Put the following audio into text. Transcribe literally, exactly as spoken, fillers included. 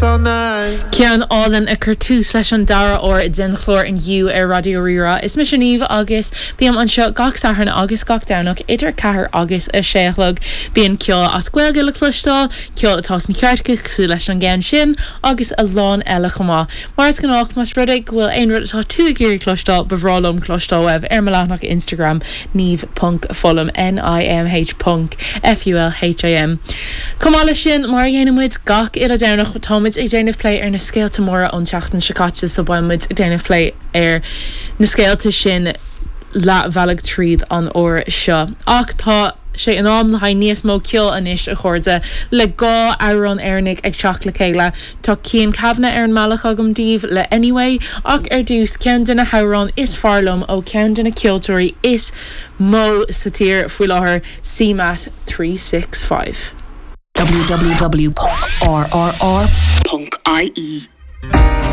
Ceann álainn a chuir tús leis an dara huair den chlár inniu ar Raidió Rí-Rá. Is mise Niamh agus bím anseo gach Satharn agus gach Domhnach idir ceathair agus a sé a chlog. Bíonn ceol as Gaeilge le cloisteáil, ceol atá sna cairteacha cosúil leis an gceann sin agus a lán eile chomh maith. Mar is gnách más rud é go bhfuil aon rud atá tú ag iarraidh cloisteáil ba bhreá liom cloisteáil uaibh ar mo leathanach Instagram Niamh ponc Fulham N-I-M-H ponc F-U-L-H-I-M. Chomh maith leis sin mar a dhéanann muid gach uile Domhnach táimid ag déanamh plé ar na scéalta móra ón tseachtain seo caite so beidh muid ag déanamh plé ar na scéalta sin leathbhealaigh tríd an uair seo. Ach tá sé in am le haghaidh níos mó ceoil anois a chairde le dhá amhrán Éireannaigh ag teacht le chéile. Tá Cian Kavanagh ar an mbealach agam daoibh le Anyway ach ar dtús ceann de na hamhráin is fearr liom ó ceann de na ceoltóirí is mó sa tír faoi láthair CMAT three six five. www.rrr.ie